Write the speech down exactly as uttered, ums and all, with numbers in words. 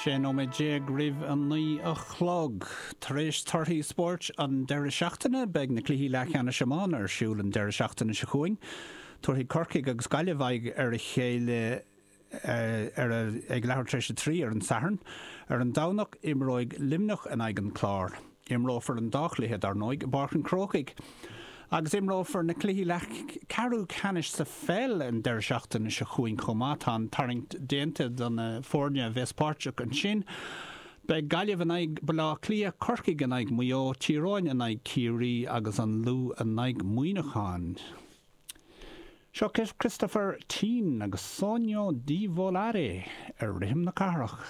Sé nóiméad déag roimh a naoi a chlog. Tar éis torthaí spóirt an deireadh seachtaine, beidh na cluichí leathcheannais iomána ar siúl an deireadh seachtaine seo chugainn. Tabharfaidh Corcaigh agus Gaillimh aghaidh ar a chéile ar a, ag leathuair tar éis a trí ar an Satharn. Ar an Domhnach, imreoidh Luimneach in aghaidh an Chláir. Imreofar an dá chluiche, dar ndóigh, i bPáirc an Chrócaigh. Agus imreofar na cluichí leathcheathrú ceannais sa pheil an deireadh seachtaine seo chugainn chomh maith. Tá an tarraingt déanta do na foirne a bheas páirteach ansin. Beidh Gaillimh in aghaidh Baile Átha Cliath, Corcaigh in aghaidh Mhaigh Eo, Tír Eoghain in aghaidh Ciarraí agus an Lú in aghaidh Muineacháin. Seo Christopher Tin agus Sogno di Volare ar Rithim na Cathrach.